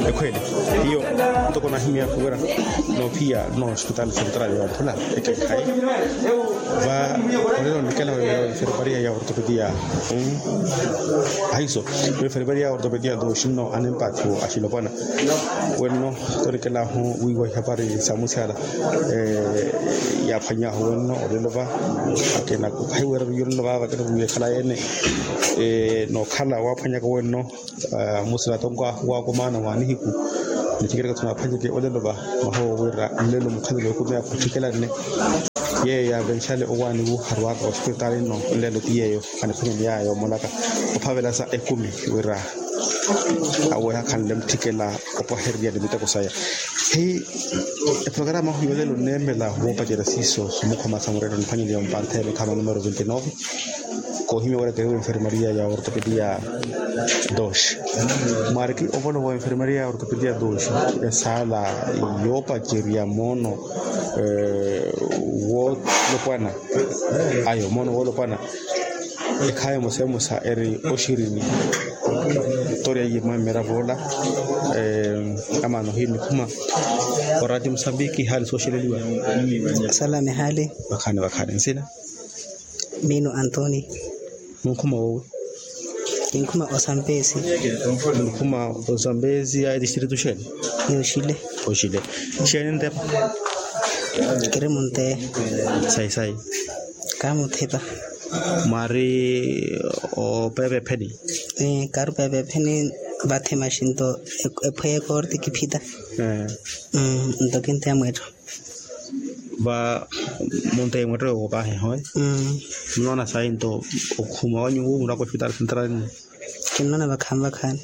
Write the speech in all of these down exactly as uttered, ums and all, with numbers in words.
Ekhweele, hiyo ntoko nahimya wira noophiya no hospital central ya mphula ekekhayi. Va olelo nikela wa enfermaria ya ortopedia. Ahiso, enfermaria ya ortopedia do shinno anempathu axilopwana. Wenno, torikelahu wiiwa ihapari sa musiala yaaphwanyahu wenno olelo va. Akena khahiwera viyo olelo va vakena viyo ekhala yene. Nookhala waaphwanyaka wenno. Musila tonko ahu waakumaana wa nihiku. Nithikereke tunaaphwanyeke olelo va mahowo wira nlelo mukhalelo ekumi akhutthikelane. Yeeyo yaavenxale owaani wu harwaka ospitaali nno nlelo ti yeeyo aniphwanyani yaayo omolaka ophavela sa ekumi wira aweha khanle mutthikela opwahererya ni miteko saya. Hi eprograma ahu yolelo nneemela woopacerya siiso somukhoma sa murelo niphwanyeliwa mpantha ya mikhama numero vinti nove. Koohimya wira keriwa enfermaria ya ortopedia dos. Mwaariki ovolowa enfermaria ya ortopedia dos esaala yoopacerya moono woolopwana. Ayo moono woolopwana. Ekhaya emosa emosa eri oxirini. Toriya iye mwa mmeravo ola. Amaana ohiya nikhuma. Orati musambiki hali sooxeleliwa. Salame hali. Vakhaani vakhaani nsina. Miino antoni. Munkhuma woowi. Kinkhuma osambesi. Munkhuma osambesi ya etistritu xeeni? Ni oxile. Oxile. Xeeni ntepa? Kiri munte. Sayi sayi. Kaamuthepa. Mwaari opeepa epheni? Kaarupeepa epheni. Vathi maxinto ephweya ekorti kiphita. Nto kinteya mweetto. Va munteyi mweetto yoowo paahi ehowe. Munoona sayi nto okhuma wanyu wu muraka ospitaali sentrali ni? Kinnoona vakhaani vakhaani.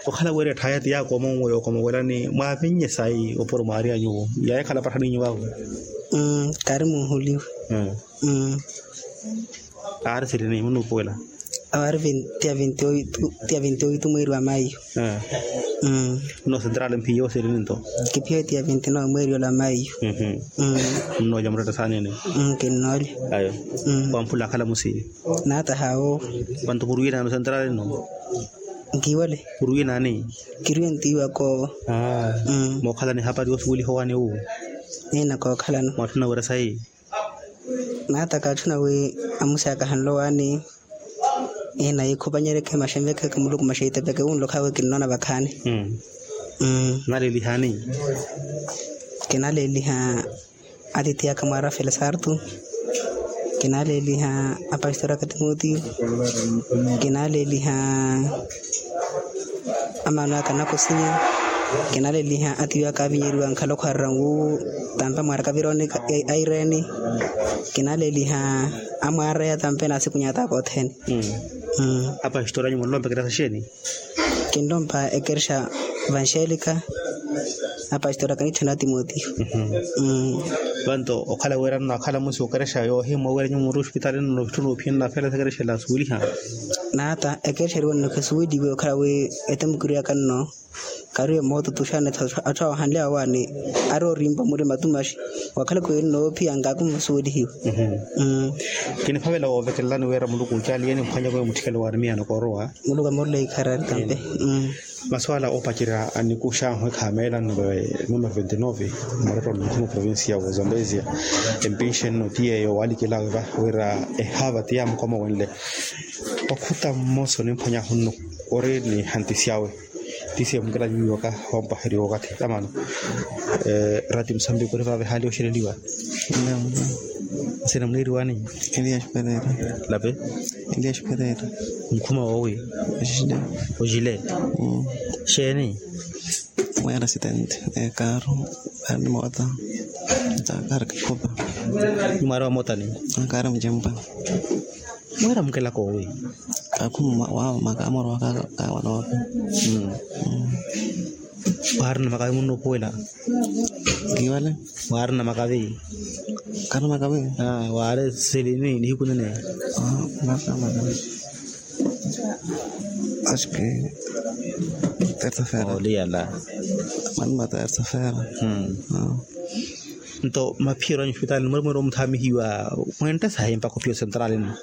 Okhala wira etthaya ti yaakoma onweya okoma owelani mwaavinnye sayi opuro mwaari anyuwo yaahikhala patthaninyu vaavo? Kaari muuhuliwe. Aari sirini munuupuwela? Awo aari ti ya vinti oitu mweeri wa mayu. Nno sentrali mphiya owo sirini nto? Kiphiya ti ya vinti nove mweeri ola wa mayu. Nnoolya muretta saanini? Kinnoolya. Ayo. Wamphula akhala musiiri? Naata hawo. Vantu purwiye naani osentrali nno? Nkiwale. Purwiye naani? Kiriwe ntiiwaka owo. Mookhalana ehapari yoosuweliha owaani wu? Eena kookhalana. Mwaatthuna wira sayi? Naata kaatthuna wi amusi akahanle owaani. Eena yikhupanyereke maxenvekeke muluku maxeitepeke wunlokhawe kinnoona vakhaani. Naleelihaani? Kinaleeliha atiithi aka mwaara felisartu. Kinaleeliha apastori aka timotiyo. Kinaleeliha amaano aka anakusinya. Kinaleeliha atiiyo aka avinyeriwa nkhalokho arira nwu tampe mwaaraka vironi. Aireni. Kinaleeliha amwaara ya tampe na asikunyata aka othene. Apastori anyu munlompa ekerexa xeeni? Kinlompa ekerexa vanxelika. Apastori aka nitthuna timotiyo. Vanto okhala wira nno akhala musi okerexa yoohimwa wira nyuwo muri ospitaali nno vitthuna ophiya nnaafela sa ekerexa ela asuweliha? Naata ekerexa eriwa nno khisuweliwe okhala wi etemukiri aka nno. Kariwe mootutuxani atthu awo ahanle awaani. Ari orimpa muri matumaxi. Wakhalaka wi nnoophiya nkaakumu vasuwelihiwe. Kiniphavela woovekelelani wira muluku ocaali yeni mphwanyaka wi mutthikele waani miyaano koorowa. Muluku amorole ikharari tampe. Masuala oopacerya anikuxahu ekhameela numero vinti nove. Moreto nkhuma provincia wa zambezia. Empinxe nno ti yeeyo waalikelaawe va wira ehaava ti yaamukoma wenle. Okhuta mmosa onimphwanyahu nno ori ni hantisi awe. Tisiye mukela nyuwiwaka wampwaheriwa okathi amaano. Rati musambiki ori vaave haali oxeleliwa. Nsina muneeriwani? Elias perera. Lape? Elias perera. Nkhuma woowi? Oxile. Oxile. Xeeni? Mweera asitente. Ekaaru. Ari ni moota. Kaari kakhupa. Ni mwaari wa mootani? Kaari mucempa. Mweera mukelaka owi? Kakhuma wawo maka amoro waka. Kawalooka. Waarina makavi munnuupuwela? Nkiwale. Waarina makavi? Karina makavi. Waari silini nihiku nene? Maka makavi. Aski. Tersa fera. Oliyala. Manima tersa fera. Nto maphiyeru anyu ospitaali ni mweeri mweeri omuthaamihiwa? Mwentte sahi mpakha ophiya osentrali nno?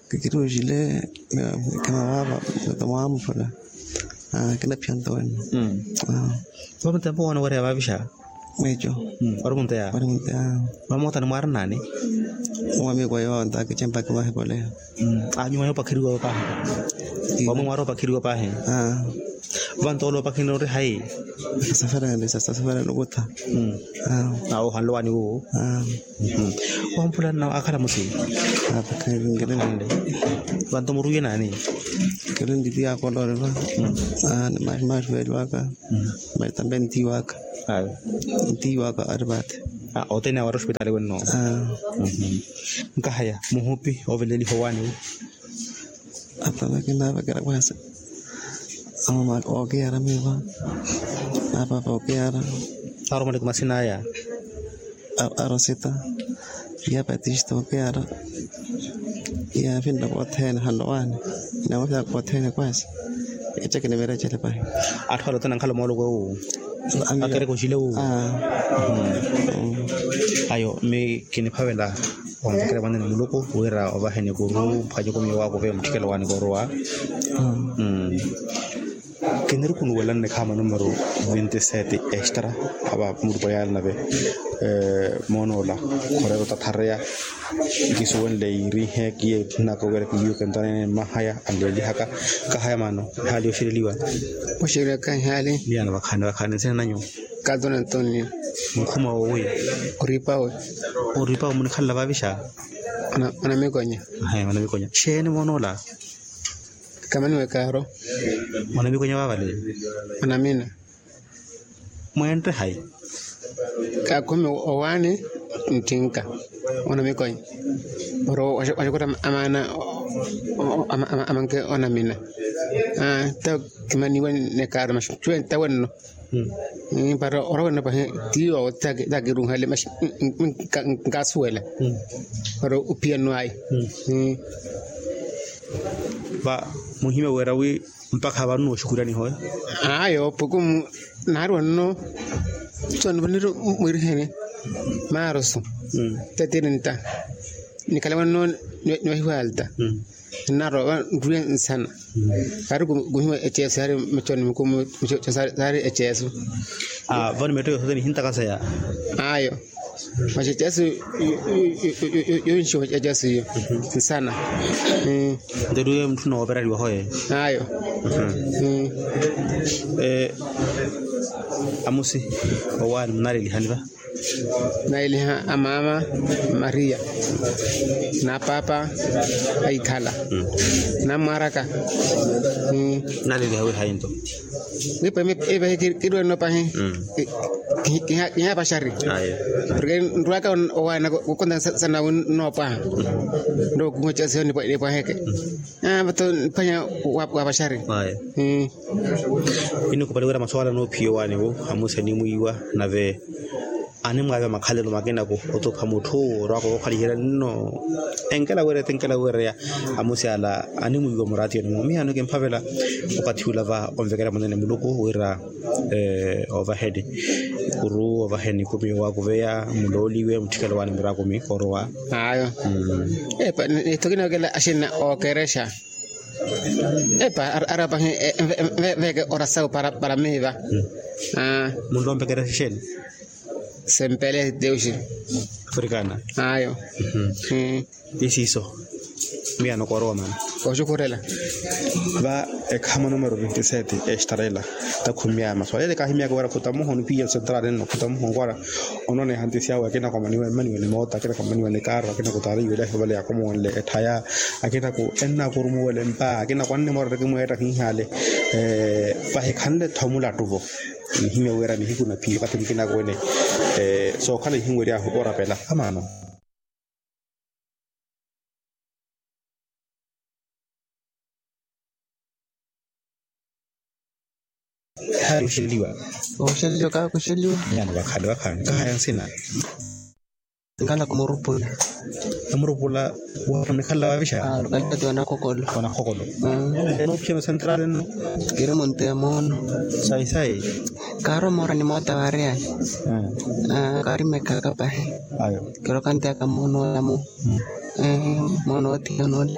Kikiri oxile. Khimavaava. Mwaamupula. Kinaphiya nto wenno. Vamunteya mpo wana wereya vavixa? Mweco. Wari munteya? Wari munteya. Vamootani mwaari naani? Wamiko yoontha kichempaki vahipoleya. Anyuma yoopakheriwa paahi? Wamwe mwaari opakheriwa paahi? Vanto ole opakheriwa ori hayi? Sasafereni sasafereni okutha. Awo ohanle waani wuwo? Wampula nna akhala musi? Vanto muruiye naani? Kiri ntiti yaakolooriwa. Ni maxi maxi veeliwaka. Matambe ntiiwaka. Ntiiwaka ari vathi. Othene awo ari ospitaali wenno? Nkahaya muhupi oveleliha owaani wu? Atamaki naavekera kwasi. Amamaka okiyara miiva. Apapa okiyara. Aromani kumasina aya? Arosita. Iya patista okiyara. Iya afinna vothene hanlowaani. Nawo fyaka othene kwasi. Ecekini verecele pahi. Atthu ale othene ankhala mooloko ewu? Akerekoxile wu? Ayo mi kiniphavela. Onvekela mwanene muluku wira ovaheni kuru mphacukumiyo wakuve mutthikelo waani koorowa. Kinirikunuwela nnikhaama numero vinti sete extra. Ava muluku ayaala nave moonoola khorero tathareya. Nkisuwenle yiirihe kiye ntthunaka wira kiyiwe kentwanene mmahaya anleelihaka. Nkahaya maano ehaali yoxereliwa? Oxereliwaka ehaali. Miyano vakhaani vakhaani nsina nanyu? Kato na antonio. Nkhuma wowi? Oripawe. Oripawe munikhalela vavixa? Mwanamikonya. Mwanamikonya xeeni moonoola? Kamaniwe kaaro. Mwanamikonya vavale? Mwanamina. Mwentte hayi? Kakhumi owaani nttinka. Mwanamikonya. Oro waxakutta amaana amanke onamina. Aa ta kimaniwe nekaaro maxi cuwenta wenno. Para ora wenno pahi tiyo takiruhale maxi. Nkasuwela para opiyano ayi. Va muhimya wira wi mpakha vano nooxukuraniho. Ayo pukumu naari wenno. Soni vaniri mwiriheni maaroso. Tatirinta nikhala wenno. Nivahiwalta. Nnarowa nruye nsana. Kaari kuhiwa eceeso yaari machoni mikumu. Saari eceeso. Vano metto yothene nihintaka saya. Ayo. Machechasi. Yonxiwa machechasi yo nsana. Nteruye mutthu nooperariwa hoye. Ayo. Amusi owaani munalelihani va? Nailiha amaama maria. Na paapa aikhala. Namwaraka. Naliliha wihayi nto? Wipa ipahi kiriweno pahi. Kihapaxari. Porke nrwaka owaana kukonta sana wi nnoopaha. Nrokuhuwa casi niyo nipwaheke. Vato niphwanya wapaxari. Inikupali wira maswala noophiya owaani wu amusi animwiiwa nave animwaaviwa makhalelo makinaku. Otupha mutthu orwaka wookhaliherya nno enkela wireya ti enkela wireya. Amusi ala animwiiwa muraatiyoni mwo miyo ano kimphavela. Okathi ula va onvekela munene muluku wira ovaheni kuru ovaheni kumi owaakuveya mulooliwe mutthikelo waani muraakumi orowa. Ayo. Nitho kinookela axinna ookerexa. Epa arapahi. Veeke orasawu para miiva. Munlompekerexa exeeni? Sempele teuxi. Afrikana. Ayo. Ti siiso. Miyano koorowa maana. Oxukhurela. Va ekhama numero vintisete extra ela. Takhumiya maswala ele kahimiyaka wira khutamuho nipiya central nno khutamuho nkwara. Ononeha ntisi awe akina kwamaniwe mmaniwe ni moota akina kwamaniwe ni kaaro akina kutaariwe ilahi vale yakomowenle etthaya. Akina ku enna kurumuwele mpa akina kwannimorera kimweetta kinhale. Vahikhanle tho mulattuvo. Nihimya wira nihiku na phiyo kathi mukina kuwene. Sookhala ihinweryahu orapela amaano. Ehaali oxeliwa. Oxeliwa kakuxeliwa. Nyano vakhaani vakhaani nkahaya nsina. Nkhala kumurupula. Amurupula. Wamikhala vavixa? Kalipati wanakhokolo. Wanakhokolo. Enoophiya masentrali nno? Kiri munte ya moono. Sayi sayi. Kaaromora ni moota variyani. Karimekaka pahi. Ayo. Kirokanteyaka moono olamu. Mwana otiya onole.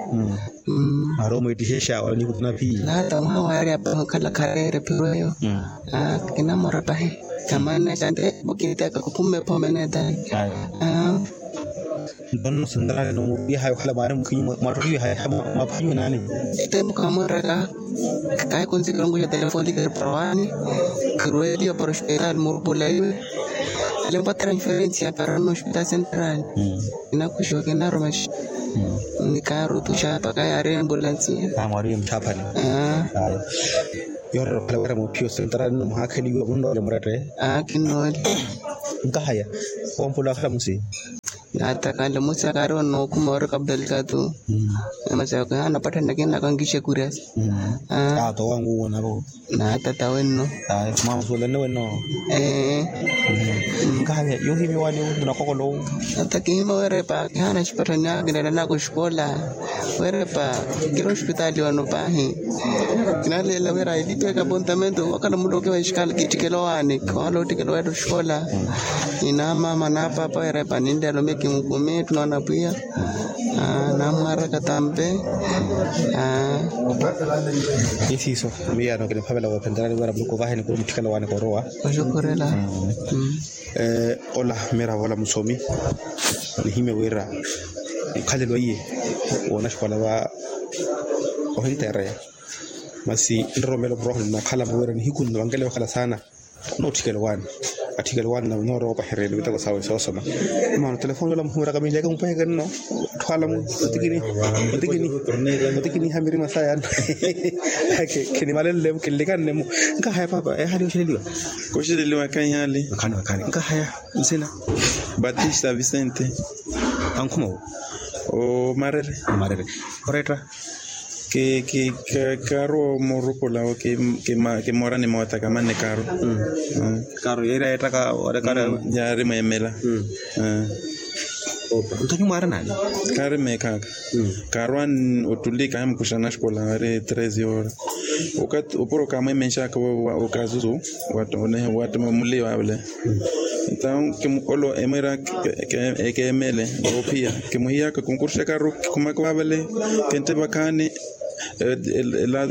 Mara omwittihexa wala nihutuna phi? Nata mwaha wari apaha okhala khareere phirweyo. Kinamora pahi. Kamanna xante mukiteka kuphuma ephome neetani. Nto nno sentral no mupiha yokhala mwaari mukhinyi mwattoliwe haya maphanyiwe nani? Ete mukhamureka. Kahikunzi kirongo xa telefoni kiri para wani. Kirweliwa para ospital murupulaiwe. Alimpa transferencia para nno ospital sentral. Kinakuxiwa kinarumaxa. Nikarutuxa paka yaari embulansi. Mwari muthaphani. Yorera okhala wira muphiyo sentral nno muhakheliwe munnoole murette. Kinnoole. Nkahaya. Ompula wakhala musi. Nata kale musi akari onookhuma ori kabelkatu. Namasi ako hana patthanna kinnaka nkixe kuriasi. Ato wanguwo navo. Nata tawenno. Mwamusuulane wenno. Nkahaya yohimya wani. Munakokolo. Nata kihimya werepa kihana xipatthanni akinela nako xikola. Werepa kiri ospitali wano pahi. Kinaleela wira ilipya kapontamento wakhala muloke wa exikala kittikela owaani kiwala ottikela owatta oxikola. Inaamama naapapa werepa ninleela omiya kimukume ttunoona pwiya. Naamwaraka tampe. Isiiso. Miyaano kiniphavela woophentela niwira muluku vahe nikuru muttikela owaani korowa. Oxukhurela. Ola miravo ola musomi. Nihimya wira mukhalelo iye woonaxikola va ohinteereya. Masi nroromelo murooho nnakhala muvira nihiku nno vankele vakhala saana. Nootthikela owaani. Atthikela owaani na noorowa opahereni miteko sawe soosoma. Maana otelefoni ola muhumiraka miileke mupweheke nno. Atthu ala mu otikini otikini otikiniha mirima saya. Khinimalenle-mu kinlikanne-mu. Nkahaya paapa ehali oxeleliwa? Koxeleliwa kaihali. Vakhani vakhani nkahaya. Nsina? Batista vicente. Ankhuma wo? Omarere. Omarere. Oretta? Kaaru omurupula. Kimoorani moota kamanne kaaru. Kaaru yeeri ayettaka. Yaari mweemela. Nto nyuwo mwaari naani? Kaari meekhaaka. Kaarwaani ottuli kahimukuxa naxikola ari treze hora. Opuro kaamweemenxaka okazuzu. Wattoma muliwa vale. Entawo kimukolo emwira ekeemele. Woophiya kimuhiyaka kunkuruxaka aru kikhumaka vavale. Kente vakhaani.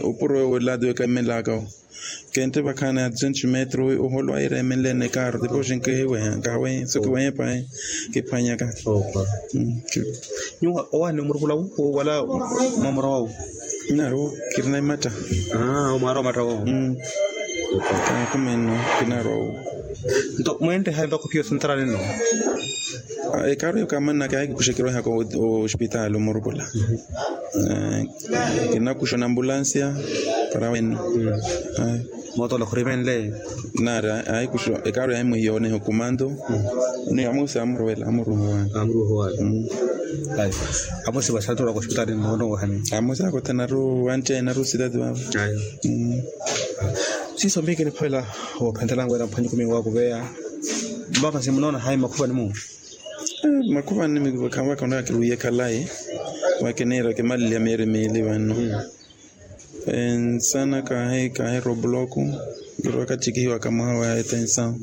Opuro elaado ekamelaka. Kente vakhaani a duzentos metro. Oholo ayireemenlene kaaro depois nkihiweha nkahawehe so kiwehe pahi. Kiphwanyaka. Nyuwo owaani omurukula wu wala mwamura wawu? Naro kirina imatta. Omwaari omatta wowo. Kaakhumenno. Kinarwa wu. Nto mwentte hayi mpakha ophiya osintarani nno? Ekaaru eyo kaamannaka yaahikukuxa kirwehaka ospitaali omurukula. Kinakuxa onambulansiya. Para wenno. Mootoola khurimenle. Naari aahikuxa ekaaru yaahimuhiya oneha okumanto. Ni amosi amuruwela amuruwa owaani. Amosi vasantuwelaka ospitaali nno. Amosi akotha naru wantteye naru sitati vavo. Siiso mpihi kiniphavela. Woophentelanga wira mphwanyukumiwa wakuveya. Masi munoona hayi makhuvani-mu? Makhuvani-mu khavaka onaka kiruwiye khalayi. Vakiniira kimaleliha miiri miili vanno. Ensana kaahi kaahi robloku. Kirowaka ttikihiwaka mwaha wa etensawu.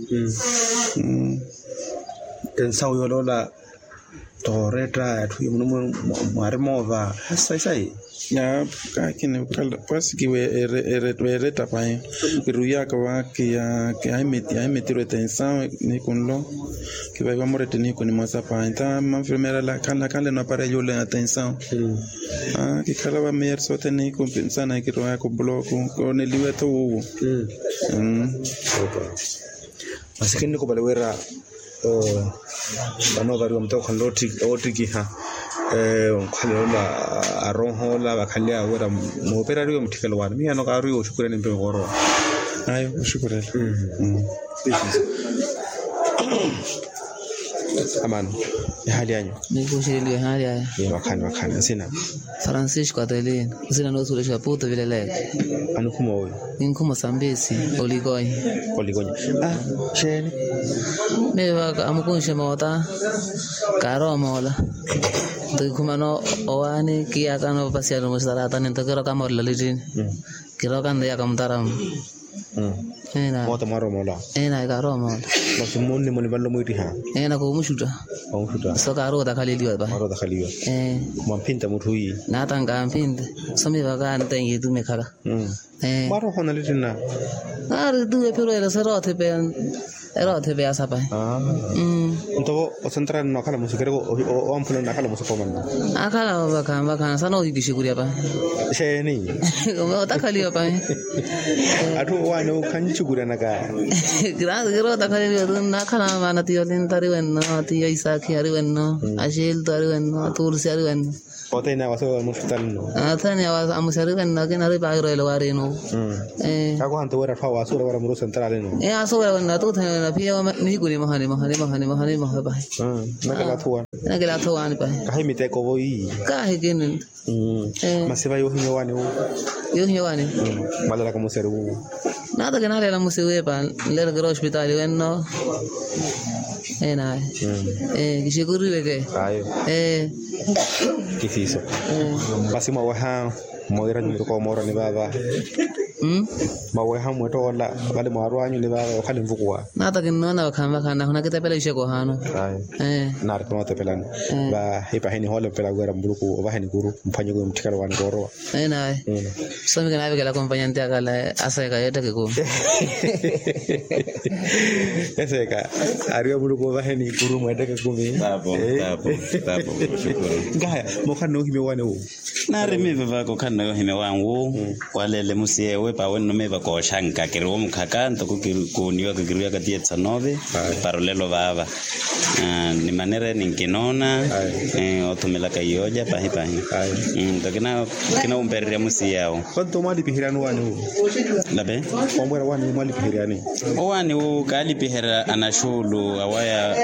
Tensawu yooloola. Tooretta atthu muno mwaari moova. Sayi sayi. Kaakini pasi kiwe eretta pahi. Kiruwiyaka va kiya. Yaahimetirwa etensawu nihiku nlo. Kivahiwa murette nihiku nimosa pahi nta manfirmeera ala khanle khanle nopareya yule atensawu. Kikhala va meyeri sothene nihiku nsana kirowaka obloku. Kooneliwe tho wuwo. Masi kinnikupali wira vano ovariwa muteko khanle oottikiha. Onkhalelo ola aroho ola vakhanly'awe wira mooperariwe mutthikelo waani miyano kaariwe oxukurya nimpe mukoorowa. Ayo oxukurela. Amaano. Ehaali anyu? Nikuxeleliwa ehaali aya. Vakhaani vakhaani nsina? Francisco atelina. Nsina noosulexa puto vileleke. Anikhuma owi? Ninkhuma osambisi. Olikonya. Olikonya. Xeeni? Meyo vaka amukunxe moota. Kaarowa omoola. Nto kikhumana owaani kiyakana opapasiyani omusitaratani nto kiroka moolelo littini. Kiroka nto iyaka mutaramu. Enayi. Moote mwarowa moola. Enayi kaarowa moola. Masi mmunni munivanle omwiittiha. Ena koomuxutta. Koomuxutta. So kaarowa otakhaleliwa pahi. Kaarowa otakhaleliwa. Ee. Mwamphinta mutthu iyi. Naata nkaamphinta. So miivaka ntenki etume ekhala. Mwarowa ohonale ttinna. Naari tuwe phiro ele serowa othepeya. Erowa othepeya sapahi. Nto vo osentrali nno akhala musi kereke owamphula nno akhala musi koomanna. Akhala vakhaani vakhaani sana ohikixikurya pahi. Xeeni. Otakhaliwa pahi. Atthu owaani okhanxukuryanaka. Kiransi kiro otakhaleliwa tu nnakhala maana tiyo linta ari wenno, tiyo isaakhi ari wenno, axelto ari wenno, atursi ari wenno. Othene awa asoweya muxutali nno. Othene awa amuxari wenno akina ari pairo ele waarino. Kakohanto wira atthu awa asoweya wira murusa ntarali nno. Asoweya wenno atuthene wenno aphiya nihiku nimoha nimoha nimoha nimoha nimoha pahi. Nakela athu waani pahi. Kahi miteko vo iyi. Kahi kini. Masi va yohinya owaani wu. Yohinya owaani. Mwalalaka muxari wu. Naata kinalela musi wiipa nlelo kira ospitali wenno. Enayi. Kixikuriweke. Ayo. Kisiiso. Masi mwaweha mwiira nyumiruka omoorwa ni vaava. Mwaweha mwettoola vale mwaarwanyu ni vaava okhale nvukuwa. Naata kinnoona vakhaani vakhaani nahuna kitepela ixeko ohaano. Naari khuna otepelani. Vahipahi nihoole mpela wira muluku ovaheni kuru mphwanyeke mutthikelo waani koorowa. Enayi. So mi kinaavikela kompaña nti akhala aseeka yeetteke kumi. Eseeka. Ariwe muluku ovaheni kuru mweetteke kumi. Tapo tapo. Tapo. Nkahaya mokhala noohimya owaani wu. Naari miiva vaka okhala noohimya owaani wu. Waleele musiyewe pawe nno miiva kooxanka kiriwo mukhaka ntoko kuuniwaka kiriwaka tiye tsanove. Para olelo vaava. Ni manera eni nkinoona. Othumelaka yooja pahi pahi. Nto kinawumpererya musiyawo. Onto mwalipiheryani owaani wu? Lape. Omwera owaani wu mwalipiheryani? Owaani wu kaalipiherya anaxuulu awaya.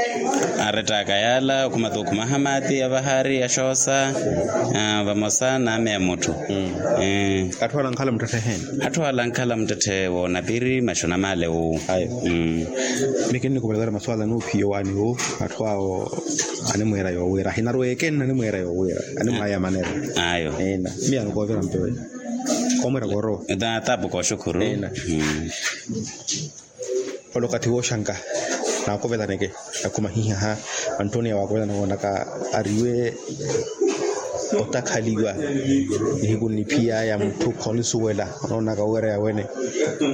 Arettaka yaala okhuma tookhuma ahamati avahaari axoosa. Vamosa n'ame ya mutthu. Atthu ala ankhala muttetthe eheeni. Atthu ala ankhala muttetthe woonapiri maxona maale wu. Miyo kinnikupelekera maswala noophiya owaani wu. Atthu awo animweera yoowiira ahinaru ekenna animweera yoowiira animwaya manera. Ayo. Miyo anokoovira mpewe. Koomwira koorowa. Tapu kooxukhuru. Ole okathi wooxanka. Naakovelaneke. Nakhumahihaha. Antoniya waakovelana woonaka ariwe otakhaliwa. Nihiku nniphiyaya mutthu khonisuwela onoonaka wira yawene.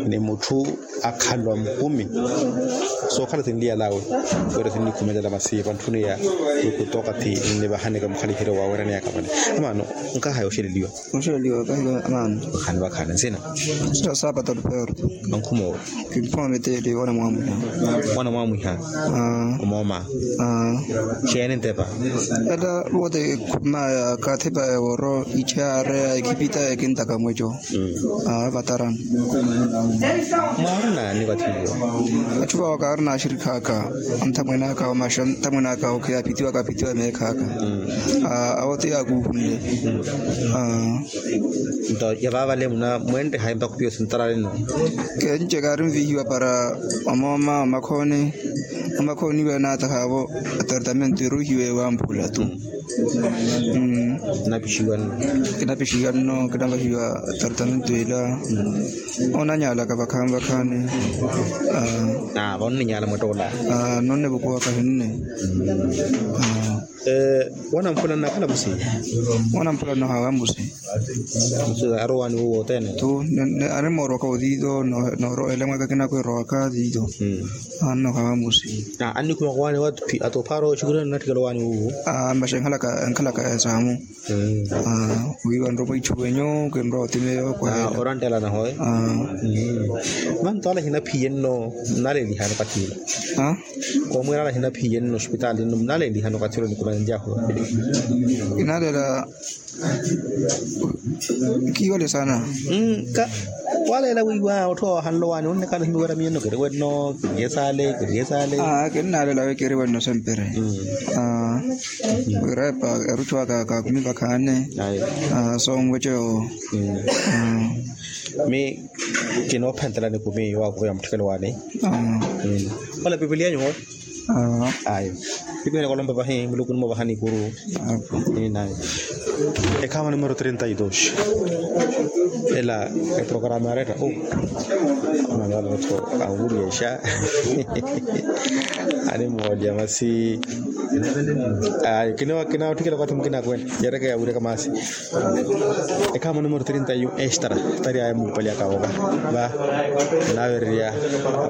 Ni mutthu akhalwa mukumi. Sookhala sinliyalawe wira sinnikhumelela masi vantthuniya. Kutoka ti nnivahaneke mukhaliheryo wa wira niyaka vale. Amaano. Nkaha yooxeleliwa. Oxeleliwa kahiwa amaano. Vakhaani vakhaani nsina. Sita saapata olupeerto. Ankhuma owe. Kinkhuma miteli wana mwamwiha. Wana mwamwiha. Omooma. Xeeni ntepa? Ela vote khumaya kathipa eworo ichareya ekhipita ekintaka mweco. Vatarani. Mwaarina ni vathi iyo? Atthu vawo kaarina axirikha aka. Anthamwene aka omaxa anthamwene aka okhiya aphitiwa kaphitiwa meekha aka. Awo ti yaakuuhunle. Nto ya vaavale muna mwentteha empakhu piyo sintaralino? Kenci kaari nvihiwa para omooma omakhooni. Omakhooni iwe naatahaavo. Atartamento eruhiwe wamphula tu. Kinapixiwa nno kinapixiwa nno kinapixiwa. Atartamento ila. Onanyalaka vakhaani vakhaani. Vonninyala mwettoola. Nonnevukuwaka hinne. Wanamphula nnakhala musi. Wanamphula nno hawa musi. Musi arowa ni wuwo othene tu. Animoorowaka othitho. Noorowa elemwaka kinakwerowaka thitho. Anno hawa musi. Annikhumaka owaani wa atophaaro oxukurihana nnatthikela owaani wuwo. Maxa enkhalaka enkhalaka esaamu. Wiiwa nropo ichuwenyu kinrowa otimeya okwaheela. Oranttelana hoye. Manto ala hinaphiye nno. Nnalelihano kathina. Koomwira ala hinaphiye nno ospitaali nno nnalelihano kathina nikumanya njaho. Kinalela. Kiwale sana. Waleela wiiwa otthu awahanle owaani onnikhala ohimya wira miyo nno kiriwe nno. Kiriye saale kiriye saale. Kinnaleela wi kiriwe nno sempere. Wira epa eruchu aka kaakumi vakhaani. Soonweco. Mi kinoophentelani kumi waakuveya mutthikelo waani. Ole pipilia nyuwo. Ayo. Pipilia kolompa vahi muluku nimovaha nikuru. Ekhaama numero trinta y dos. Ela eprograma yaretta o manala otho awuriyexa. Animmoolya masi. Kinaotthikela okathi mukina akwene. Yarekeya awireka masi. Ekhaama numero trinta yu extra. Tari aya muupali akavoka va naavererya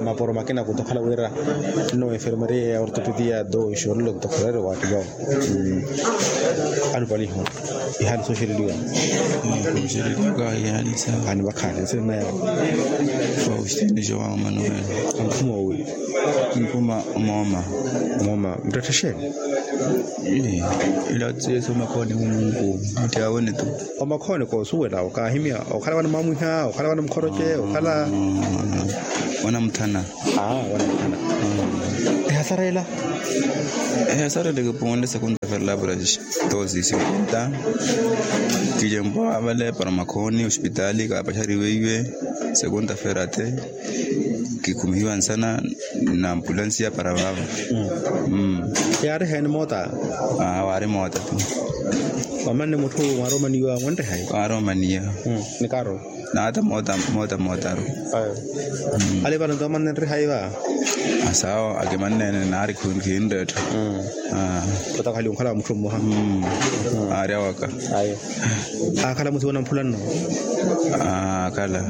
maporo makina kutokhala wira nno enfermeria ya ortopedia do ixorelo tokhalere waattivawo. Alupaliho. Ihali soxereliwa. Ihali soxereliwa ihali sa. Khani vakhaani nsina yawo. Faustino joão manuel. Ankhuma owi. Ankhuma omooma. Omooma muttetthe xeeni? Ila tsiyeso omakhooni munku. Mutti awene tu. Omakhooni koosuwela okaahimya okhala wani mwamwiha okhala wani mukhoroce okhala wanamuthana. Aa wanamuthana. Ehasara ela? Ehasara ela kipuwonle segunda fera labura. Tosi cinquenta. Kijempo avale para omakhooni ospitali kaapaxariwe iwe. Segunda fera te. Kikhumihiwa nsana na ampulansiya para vaavo. Yaari heeni moota? Waari moota tu. Wamanne mutthu mwaari omaniwa mwantte hayi? Waari omaniwa. Ni kaaro? Naata moota moota mootaru. Ayo. Ale vano nto amanne nri hayi va? Asawo akimanneene naari khinrettha. Otakhali onkhala wa mutthu mmoha. Aari awaka. Ayo. Akhala musiwa namphula nno? Akhala.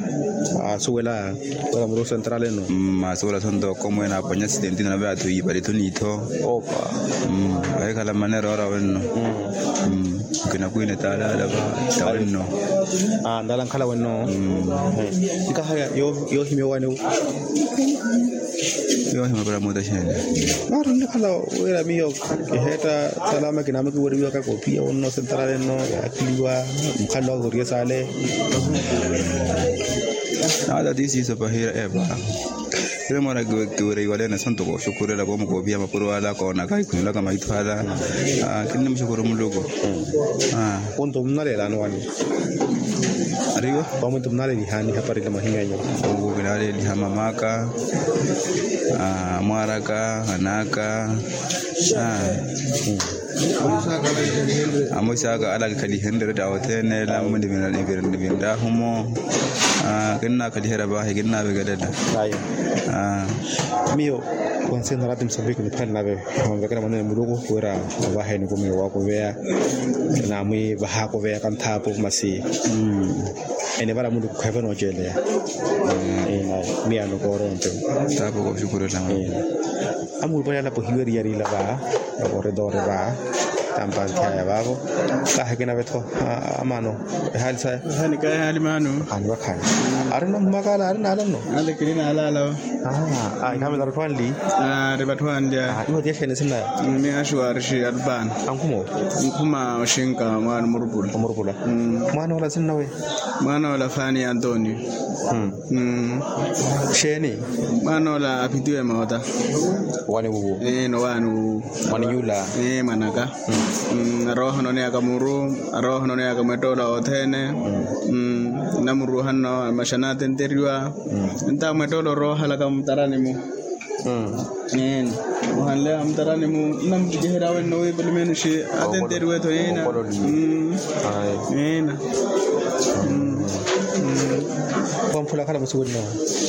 Asuwela wela muru central eno? Asuwela sonto komwene aponya asidenti nave atu ipalithu niitho. Opa. Ahikhala mmanera ora wenno. Kinakwine taalaala va tawenno. Ndala nkhala wenno. Nkaha yoohimya owaani wu? Yoohimya para muta xeene? Maari onnekhala wira miyo kiheetta salama kinaama kiweriwaka kopiya wonno sentarale nno yaakhiliwa. Mukhalelo waka koriye saale. Naata ti siiso pahira epa. Ira mwaana kiwira iwalene santo kooxukhurela koomukoophiha mapuro ala koonaka ikhunelaka maitho ala. Kinnimuxukuru muluku. Onto munaleelani wani? Ariwa wamwinto munaleelihaani haparila mahinyanya? Owo kinaleeliha mamaka. Mwaaraka anaka. Amosi aka ala kikhalihenrye etta othene ela mama nivinrahumo. Kinnakhalihera vahi kinnavikelela. Miyo wansi narati musambiki niphale nave. Onvekela mwanene muluku wira ovaheni kumiyo wakuveya. Namwi vahaakuveya kanthaapu masi. Ene vara muluku kheevo nooceleya. Miyano koronto. Tapo koxukurela. Amulupale alapo hiweriyarila va vakoredore va. Tampanthiyaya vavo. Kaha kinavetho amano. Ehali saya ehali mano. Khani vakhani. Ari nno mmakala ari nala nno. Ale kini nalala. Aa ikhami tarutthu anli. Ari vatthu anli. Iwo tiya xeeni sinaya? Miya xiwarixi alupana. Ankhuma oxinka mwaana omurupula. Omurupula. Mwaana ola sinnawe? Mwaana ola fani antonio. Xeeni? Mwaana ola aphitiwe moota. Wani wuwo? Ino wani wuwo. Mwaniyula? Mwanaka. Arooha ononeyaka muru. Arooha ononeyaka mwettoolo othene. Namuruuha nno amaxa naatenteriwa. Nta mwettoolo oroohalaka mutarani mu. Eena. Ohanle amutarani mu nnamuttikiherya wenno wi pilimenuxi atenteriwe-tho eena. Eena. Wamphula akhala musi wenno?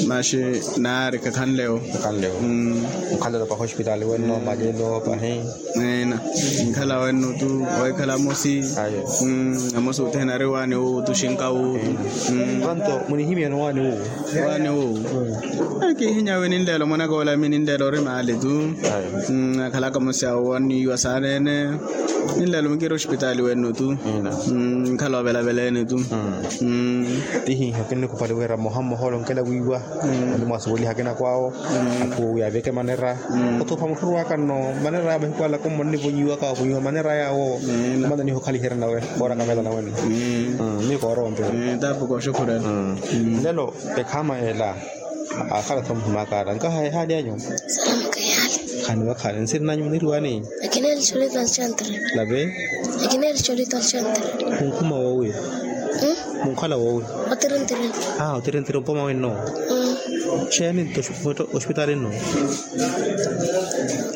Maxi naari kakhanle-wo. Kakhanle-wo. Mukhalelo pahi ospitali wenno malelo pahi. Eena. Nkhala wenno tu. Wekhala amosi. Amosi othene ari waani wu tuxinka wu. Panto munihimyano waani wu? Waani wu? Kihinya wi ninleelo mwanaka ola mi ninleelo ori maali tu. Akhalaka musya waniiwa saaneene. Ninleelo mukiri ospitali wenno tu. Nkhala ovelaveleene tu. Tihiiho kinnikupali wira mmoha mmoha olonkela wiiwa. Onimwasuweliha kinako awo. Akhuwo wi aveke manera. Othupha mutthu orwaka nno manera ya mahiku ala kommoni nivonyiwaka wavonyiwa manera yawo. Mana niho okhaliherya nawe. Koora kamela nawenno. Miyo koorowa mpira. Tapo kooxukhurela. Lelo ekhama ela. Akhala tho muhimaka ala nkaha ehaali anyu? Salamuka ehaali. Khani vakhaani nsiri nanyu muniriwani? Akina erichorito alchantre. Lave? Akina erichorito alchantre. Munkhuma woowi? Munkhala woowi? Otirintiri. Otirintiri mpoma wenno. Xeeni nto oxipitaali nnu?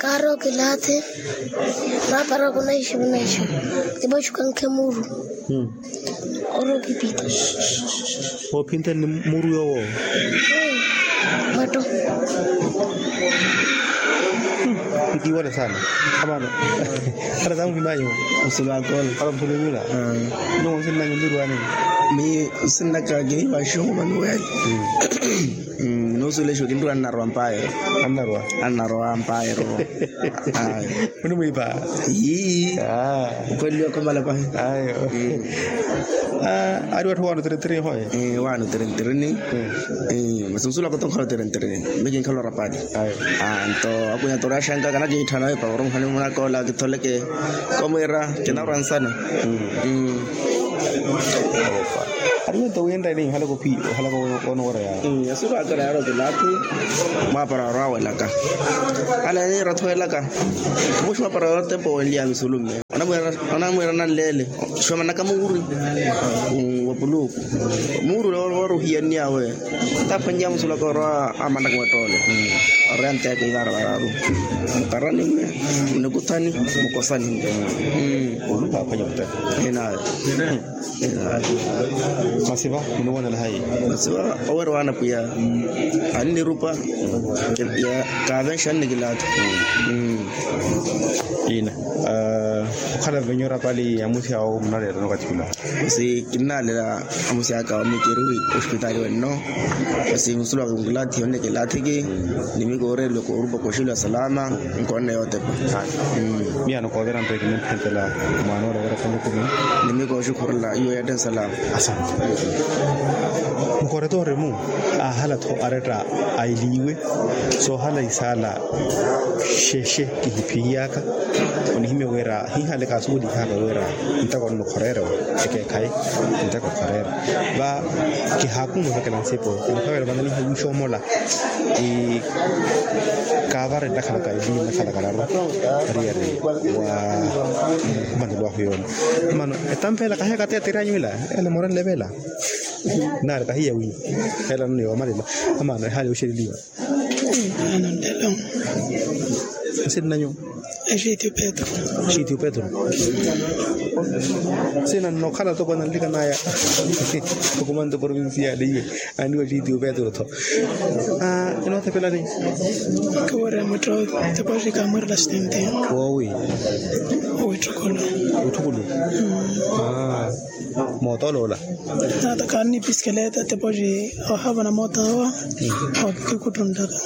Kaari okilaathi. Maapara okunaixa okunaixa. Tipoxi okankhe muuru. Oro kipita. Ophinta ni muuru yoowo? Matto. Kitiwale sana. Amano. Ala tamuhimanyu. Musulu akole. Ala musulu nyula. Nyuwo nsinnanyu ndirwani? Mi nsinnaka kihiwa xihumani wele. Nuusulexa okinriwa annarwa mpaayero. Annarwa? Annarwa mpaayero. Munimwiipa? Ii. Kweliwa khomala pahi. Ayo. Ari watthu waano tirintirini hoye? Waano tirintirini. Masi nsulaka oto nkhala otirintirini. Mikinkhala orapali. Ayo. Nto akwinya toraxanka kanakiitthana wepa oromuhani munakoola kitholeke. Komwiira kinarwa nsana. Ari wento winreni ohalaka ophi ohalaka. Onoora yaari. Yasuku akara yaari otilaathi. Mwaapara wari wawelaka. Ala niira othuwelaka. Muxi mwaapara wari otempo wenliya misulu mme. Onamwiira nanleele. Xomanaka muuri. Wapuluku muuri ule wari ohiyanniya we. Taphwanyiya musulaka ori amanaka mwettoole. Ori anteeka ivara vararu. Mukarani mme. Munikuthani. Mukosani mme. Olupa aphwanya muteko. Enawe. Masi va muniwonela hayi? Masi va owerewa anapwiya. Annirupa. Kavenxa annikilaatha. Ina okhala venyu orapali ya musi awo munaleela nokatthula. Masi kinnalela. Amusi aka wamikiri ospitali wenno. Masi musulu aka nkilaathiye onnikilaatthiki. Nimikoorelwe koorupa koxilo ya salama. Nkoonne yootepa. Miyano koovera nto ekimuphenthela mwaan'ole overa fana ekumi. Nimikooxukhurela iwe yatte nsalama. Asante. Mukoreto orimu ahala-tho aretta ailiiwe. Soohala isaala. Xexe kihiphiyaka. Onihimya wira hiihale kaasuwelihaaka wira ntako nnukhorerya ekeekhayi. Ntako khorerya va kihaakumu ovekela nsipo. Nkhawela vana nihiwixa omola. Kaavare nnakhalaka ili nnakhalaka raru. Ariyari wa mmanelo ahu yoona. Mano etampa ela kahiya kateya tiri anyu ila. Ela morenle vela. Naari kahiya wi. Ela nno yomalela. Amano ehali yoxeleliwa. Nsinnanyu? Exitiyu petru. Exitiyu petru. Sina nnokhala toko ananlikanaya. Okumanta provincia yale iwe. Aniwa exitiyu petru tho. Inootepelani? Kiwira mutto. Tipoxi kamwirela sitenti. Woowi? Witthukulu. Witthukulu. Mootoloola. Nata kaanni pisikileta tipoxi ohavana mootawa. Okikuttunttaka.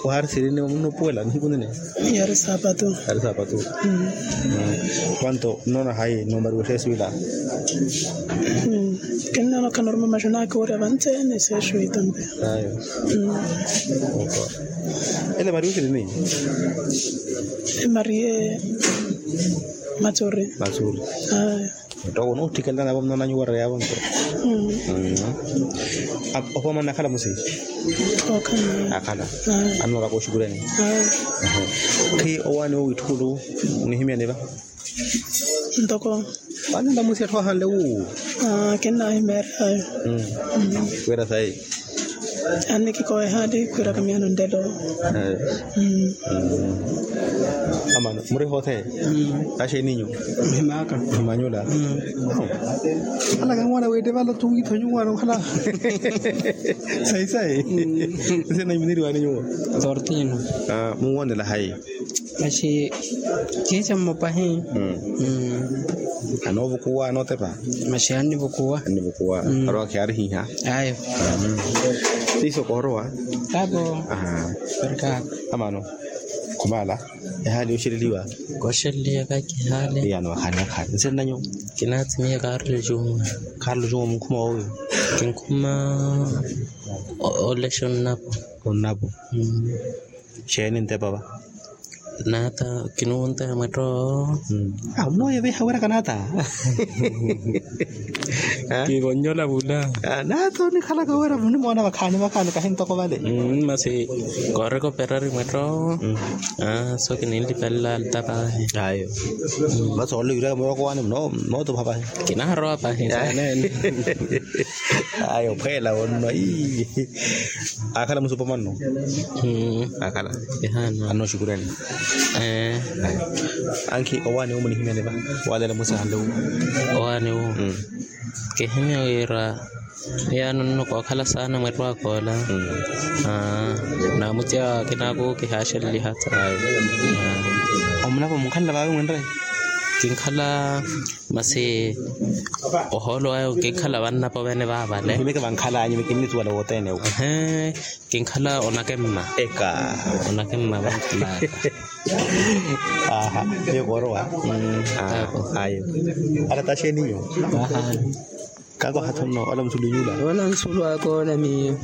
Waari sirini munnupuwela nihiku nene? Yaari saapatu. Yaari saapatu. Kwanto nnoona hayi numari wexeesu ila? Kinnoona okhanaruma maxonaka wira vantsene sexo itampe. Ayo. Ele mario sirini? Marie. Matsuri. Matsuri. Ayo. Ntoko onootthikela navo mnonanyu wareya vonto. Opomana akhala musi? Akhala. Annooraka oxukureni. Khi owaani wo witthukulu onihimyani va? Ntoko. Vanila musi atthu ahanle wu? Kinnahimeerya ayo. Wira sayi. Annikikowa ehaali khwiiraka miyano nlelo. Amano muri hoothe? Axeeninyu? Mhimaka. Mhimanyula. Alaka nwana wette vala tuwitho nyuwana nkhala. Sayi sayi. Nsenanyu muniriwani nyuwo? Tortino. Munwonela hayi? Maxi kihica mmupahi. Anoovukuwa anootepa? Maxi annivukuwa. Annivukuwa. Arowa khiyaarihiha. Ayo. Siiso koorowa? Apo. Amano. Khumala. Ehaali yoxeleliwa? Koxeleliwa kakihaali. Iyano wakhaani wakhaani nsenanyu? Kinaatimiya karlo juma. Karlo juma munkhuma woowi? Kinkhuma. Olexa onnapo. Onnapo. Xeeni ntepa va? Naata kinuwunta ya mwetto. Amunooyeveha wira kanaata. Kivonnyola vula. Naata onikhalaka wira munimoona vakhaani vakhaani kahi ntoko vale. Masi kooreka operari mwetto. So kininlipelela alta paahi. Ayo. Masi oole yuraka muroko waani mootupha paahi. Kinaharowa paahi saneene. Ayo phweela onno. Akhala musupo manno. Akhala. Anno shukurani. Ankhi owaani wo munihimyani va? Waleela musahanle wu. Owaani wo. Kihimya wira yaani onno kookhala saana mwettwaka ola. Naamutya kinaaku kihaaxeleliha. Omulapa munkhalela vaavi mwenre? Kinkhala masi ohoolo wayo kinkhala vannapa ovene vaavale. Mihimeke vankhalanyu mikinnisuwela wothene wu. Kinkhala onakemma. Eka. Onakemma vankhalaka. Aha. Miyo koorowa. Ayo. Alataxeninyu. Kaako hathono ola musulu inyula. Ola musulu akoola miyo.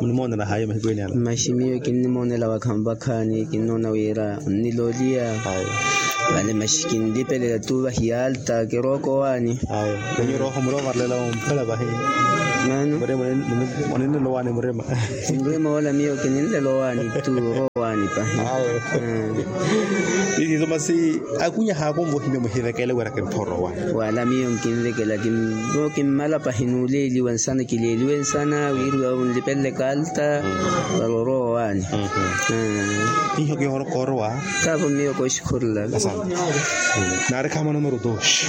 Munimoonela hayo mahiku ene ala? Maxi miyo kinnimoonela vakhaani vakhaani kinnoona wira onniloliya. Vale maxi kinlipelela tu vahi alta kirooko owaani. Ayo. Kenyu rooho murima varlela omphela vahi. Mano. Murima. Oninlela owaani murima. Murima ola miyo kininlela owaani tu orowa owaani pahi. Ayo. Isiso masi akunya haakumva ohimya muhivekele wira kinthoorowa. Wala miyo nkinvekela. Kimmala pahi nuleeliwa nsana kileeliwe nsana wiriwa vunlipelele kalta. Varorowa owaani. Iho kihooro koorowa. Kaavo miyo kooxikhurula. Naari khaama numero dos.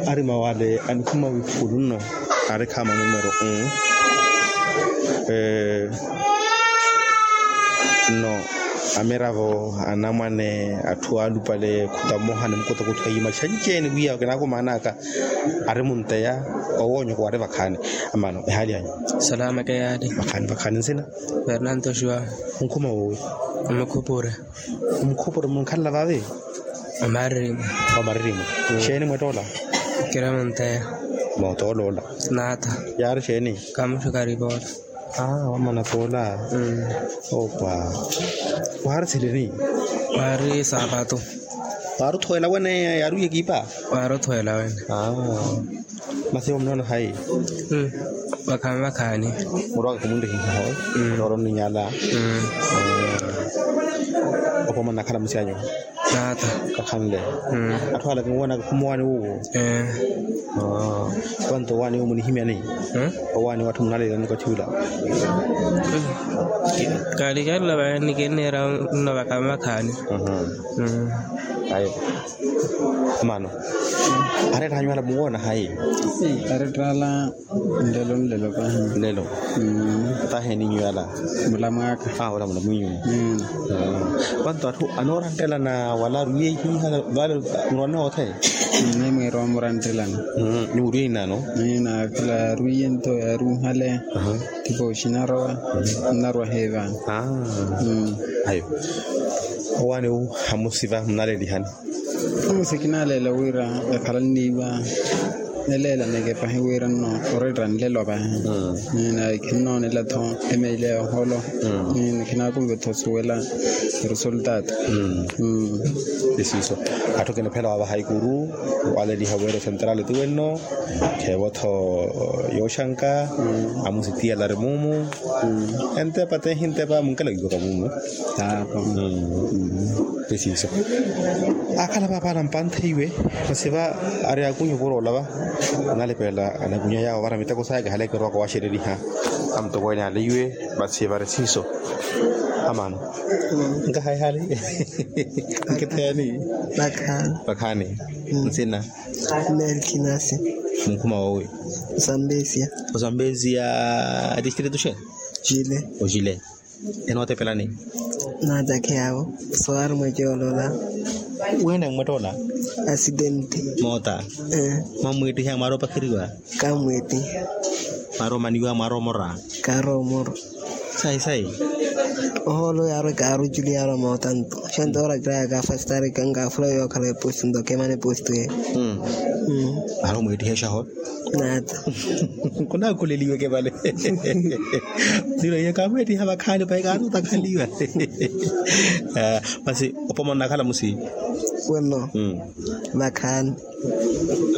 Arima wale anikhuma wikhulunno. Ari khaama numero un. Nno amiravo anamwane atthu alupale khuta mmoha ni mukotokotho ayiima xanceeni wiya kinakumaanaka. Ari munteya owoonyoko wari vakhaani. Amaano ehaali anyu? Salama keyaali. Vakhaani vakhaani nsina? Fernanto xua. Munkhuma woowi? Omukhupure. Omukhupure munkhalela vaavi? Omaririmo. Omaririmo. Xeeni mwettoola? Kira munteya. Mootoola ola. Naata. Yaari xeeni? Kamuxu karipoola. Aa wamana toola. Opa. Waari silini? Waari saapatu. Waari othweela wene yaari wiya ekipa? Waari othweela wene. Masi omunoona hayi? Vakhaani vakhaani. Murwaka khumunrihiha hoyi. Nooro nninyala. Opo manakhala musianyu? Naata. Kakhanle. Atthu ala kinwoonaka khumuwaani wuwo? Ee. Wanto owaani wo munihimyani? Owaani watthu munaleelani okathi ula? Kaalikarela vaani kinneera nno vakhaani vakhaani. Ayo. Mano. Aretthanyu ala munwoona hayi? Aretthala. Nlelo nlelo pahi. Nlelo. Tahi eninyu yala? Mula mwaka. Aa ola mula mwinyu. Panto atthu anooranttelana wala arwiye ihiha vale? Murwanne othene. Ni mwiira omuranttelana. Ni murwiye inano? Ni nakhila arwiye nto yaari unhale. Tipo xinarowa. Nnarwa heevaani. Ayo. Owaani wu hamusiva munalelihani? Masi kinaleela wira ekhala nniiwa. Neleelaneke pahi wira nno oretta nlelo pahi. Nina khinnoonela-tho emeile ya oholo. Nina khinaakumve-tho osuwela eresultaatu. Isiiso. Atthu kiniphela wavaha ikuru waleliha wira osentrali ti wenno. Kheevo-tho yooxanka. Amusitiyala ari muumu. Entepa tehi ntepa munkalakiwaka muumu. Aapa. Preciso. Akhala papaala mpantheiwe. Masi va ari akunyu vuroola va. Analipelela anakunya yaawo vara miteko saya kihale kirowaka waxereriha. Amutokweene aliiwe. Masi vari siiso. Amaano. Nkahayi hali. Nkitheyani. Vakhaani. Vakhaani. Nsina? Melkinasi. Munkhuma woowi? Osambezia. Osambezia. Atistrito xe? Ocile. Ocile. Enootepelani? Naatakheyawo. Sowaari mwecoolola. Wina mmwettoola? Asidenti. Moota. Mwamwiittiha mwaari opakheriwa? Kamwiittiha. Mwaari omaniwa mwaari omora? Kaari omora. Sayi sayi. Ohoolo yaari kaari oculi yaari omoota nto. Xanto ora kiraya kaafastari kankafula yookhala eposto nto kemana eposto ye. Vale omweettiha exaho. Naata. Khunaakhuleliweke vale. Nilo iye kaamweettiha vakhaani pahi kaaruutakhaliwa. Masi opoma onnakhala musi? Wenno. Vakhaani.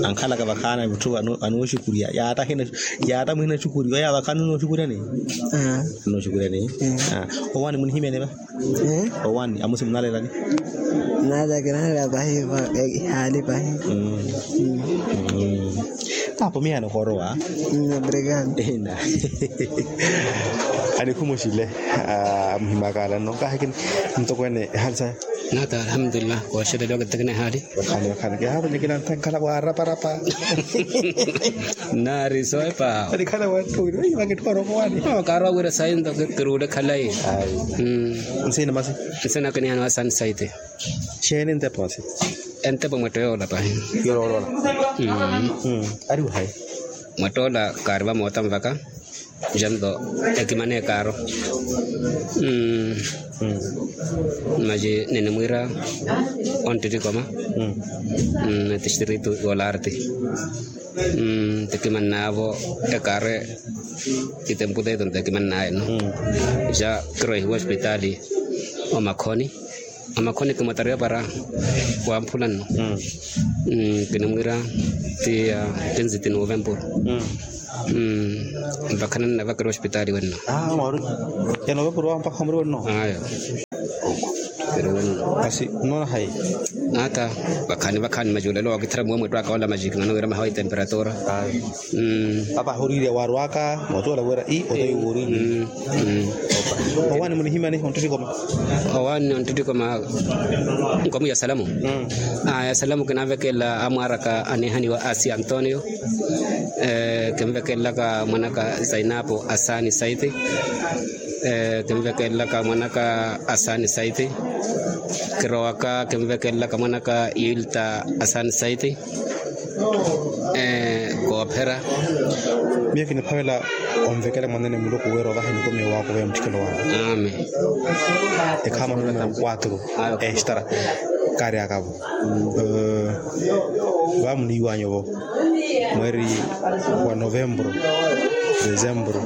Ankhalaka vakhaani mutthu anooxukurya yaatta muhina oxukurya oya vakhaani onooxukuryani? Onooxukuryani. Owaani munihimyani va? Owaani amusi munaalelani? Naata kinaalela pahi. Ihaali pahi. Tapo miyaano koorowa. Obrigado. Ina. Anikhuma oxile. Amuhimakaala nno kaahikini mutokweene ehaali sahi. Naata alhamdulillah kooxeleliwa kittekene ehaali. Vakhaani vakhaani kihaaponyekela ntha enkhala waaraparapa. Nnaari soopa. Anikhala wantthuwiri vakitthoora okowaani. Kaarwa wira sayi nto kiruule khalayi. Nsina masi? Nsina kinihaana wa sansaiti. Xeeni entepo masi? Entepo mwetto yoola pahi. Yoloolola. Ari wahayi? Mwetto ola kaari vamoota nvaka. Janto ekimana ekaaro. Maji ninimwiira onttittikoma. Etistritu yoolaarti. Ntikimannaavo ekaaro. Itemputeto ntikimannaayeno. Ja kiroihiwa ospitaali omakhoni. Amakhoni kimwatariwa para wamphula nno. Kinimwiira ti ya kinziti novempuru. Mpakha nanna vakira ospitaali wenno. Ya novempuru wawo mpakha muri wenno? Ayo. Masi nnoona hayi? Naata vakhaani vakhaani maji olelo wakithira muwe mwettwaka ola maji kimana wira mahawa itemperatura. Papa ahuriirya waarwaka mootoola wira i otayi wooriirya. Owaani munihimyani onttittikoma? Owaani onttittikoma. Nkomu ya salamu. Ya salamu kinaavekela amwaaraka anihaniwa asi antonio. Kinvekelelaka mwanaka zainapu asani saiti. Kinvekelelaka mwanaka asani saiti. Kirowaka kinvekelelaka mwanaka yulta asani saiti. Koophera. Miyo kiniphavela onvekela mwanene muluku wira ovaha enikomiyo waakuveya mutthikelo wawe. Amen. Ekhaama numero quatro. Estara. Kaari akavo. Vamuniiwanyu vo mweeri wa novempuru, desempuru,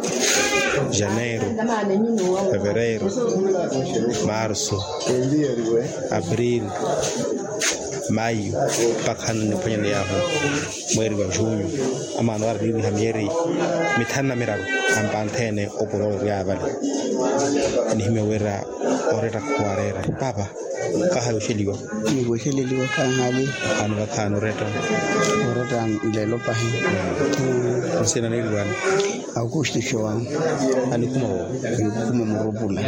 janeiru, fevereiru, marsu, aprili, mayu mpakha nniphwanyani yaahu mweeri wa junyu. Amaana wara niiriha myeeri mithanu na miraru ampantha ene opuro orya vale. Nihimya wira oretta khuwareera papa. Kahayi oxeliwa? Niku oxeleliwa khahaali. Vakhaani vakhaani oretta? Oretta nlelo pahi. Nsina niiriwani? Aukustu xowani. Anikhuma wo? Nikhuma murupula.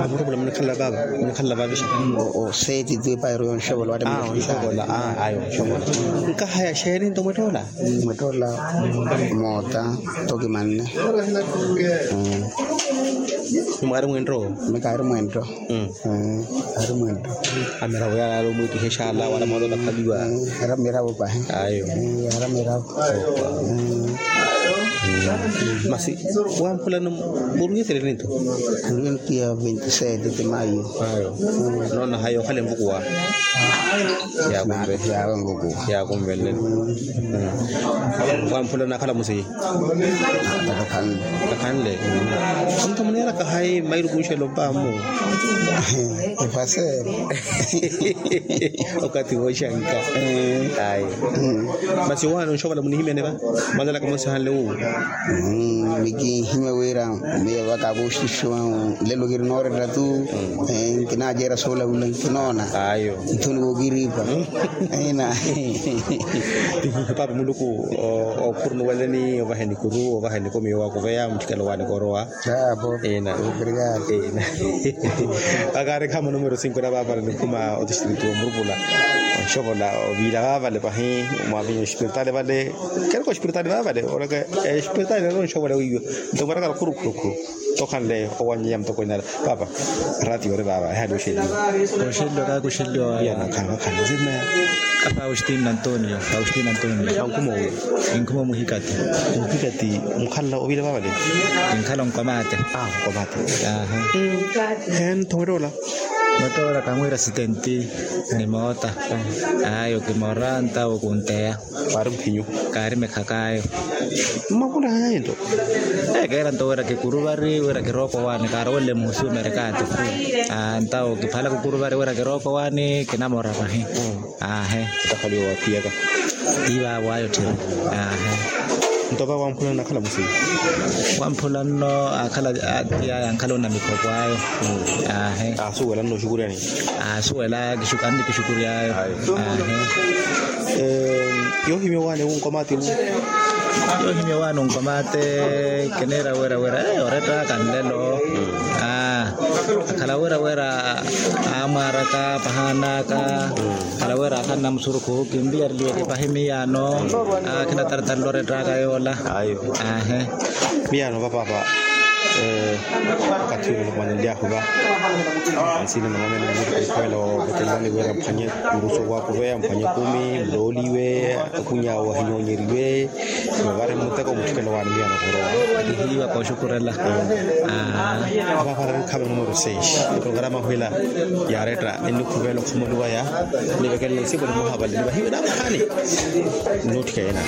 Murupula munikhalela vava? Munikhalela vavixa? Oseeti tu epairo yonxovola wata. Onxovola. Ayo onxovola. Nkahaya xeeni nto mwettoola? Mwettoola moota toki manne. Mwaari mwentto? Mikaari mwentto. Ari mwentto. Amiravo yalaala omwiittiha exaala wala mwaala otakhaliwa. Ari amiravo pahi. Ayo. Ari amiravo. Masi wamphulano murwiyetele ninto? Murwiyetele ya veintisete de mayo. Ayo. Noona hayi okhala envukuwa? Yaakunve. Yaakunve. Wamphulano akhala musi? Kakhanle. Onto muneeraka hayi mairu kunxela opaamu? Epaseero. Okathi wooxanka. Ayi. Masi owaani onxovola munihimyane va? Mwalalaka mosihanle wu? Mikinhimya wira miyo vaka apoxtuxu ahu nlelo kiri nooretta tu. Nkinaaceera soolavula nkinoona. Ayo. Nthuni kookiripa. Ina. Paapa muluku okhurunu waleni ovaheni kuru ovaheni komiyo waakuveya mutthikelo waani koorowa. Ina. Ina. Vakaari khaama numero sinko na vaavale nikhuma otistritu omurupula onxovola oviila vaavale pahi. Mwavinya ospiritaali vale kereka ospiritaali vaavale olaka. Ospiritaali nari onxovola wiiwe nto mwarakara khurukhurukhuru. Tokhanle owanyeya mutokweene ale paapa. Ratio ori vaava ehaali oxeliwa? Oxeliwa kakuxeliwa. Iyana khana khana zina. Apa austin antonio austin antonio. Ankhuma owi? Inkhuma omuhikati. Omuhikati. Mukhalala ovile vavale? Inkhala onkomate. Onkomate. Aha. Hentho wetoola? Motoora kamwiira sitenti ni moota. Ayo kimoora ntawo kunteya. Kaari mukhinyu. Kaari mekhakaayo. Mmakhula haya ento. Keera nto wira kikuruvari wira kirookowaani kaarowele muhusuumeri kaatifu. Ntawo kiphala kukuruvari wira kirookowaani kinamoora vahi. Aahe. Takhaliwa waphiyaka. Tiivaavo ayo tthiri. Aahe. Nto va wamphula nno akhala musima? Wamphula nno akhala atiyaya ankhala onamikhoko ayo. Aahe. Aasuwela nno oxukuryani? Aasuwela annikixukury'ayo. Aahe. Yoohimya owaani wunkomati mu? Yoohimya owaani wunkomati. Kiniira wira wira orettaka nlelo. Akhala wira wira aamwaaraka pahaan'aka. Akhala wira akhanna musurukhu kimpiyareliweke pahi miyaano. Akhinatartarela orettaka yoola. Aahe. Miyaano va paapa. Wakathi ule nikumanenly'ahu va ansina namwamene muluku khwela ovetelelani wira mphwanye kurusu owakuveya mphwanye kumi mulooliwe. Akhuny'awe ahinyoonyeriwe. Vavari muteko mutthikela owaani miyaano khorowa. Kihiiwa kooxukurela. Apaapara nikhaava numero seis. Programa hwila yaaretta ennikhuvela okhumoliwaya. Nivekelela isipo nimuhavaleli vahiwe naaphaani. Nnuutthika yena.